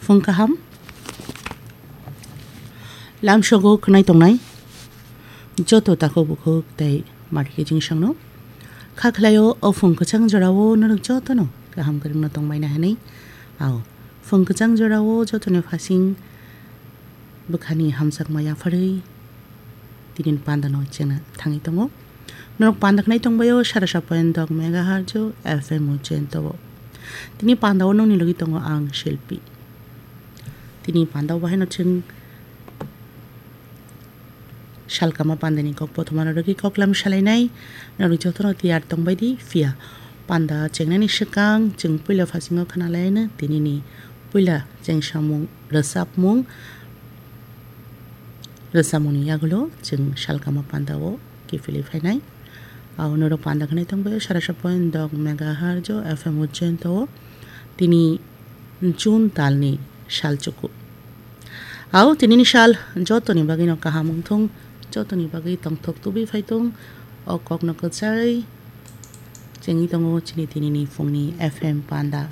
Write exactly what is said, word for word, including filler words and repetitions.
Phung kaham. Lamsogo khwnai tongnai joto takhuk bukhuk tei marikhe jingsangno kha khlaio, o phung kwchang jorao norok jotono kaham kwrwngno tongbaina hwnwi. Ao, phung kwchang jorao jotoni phasing bwkhani hamjakma yapharwi tini pandano chengna thangwi tongo. Norok panda khnai tongbaio sara sa point dok megahertz F M Ujjain o. Tini pandao nongni logi tongo ang Shilpi. Tini pandao bahaino chwng salkama pandani kok bothomano rwgwi koklam salainai. Norok jotono tiyar tongbaidi, phiya panda chengnani swkang chwng puila phasingo khwnalaino tinini puila chengsamung rwchapmung. Rwchapmungni yagulo chwng salkama pandao kiphilwi phainai. Ao norok panda khnai tongbaio sara sa point dok megahertz F M Ujjain o. Tini June talni sal chuku. Ao tinini sal jotoni bagwino kaham wngthung, jotoni bagwi tongthok tubui phaithung. O kokno kwchai chengwi tongo chini tinini phungni F M panda.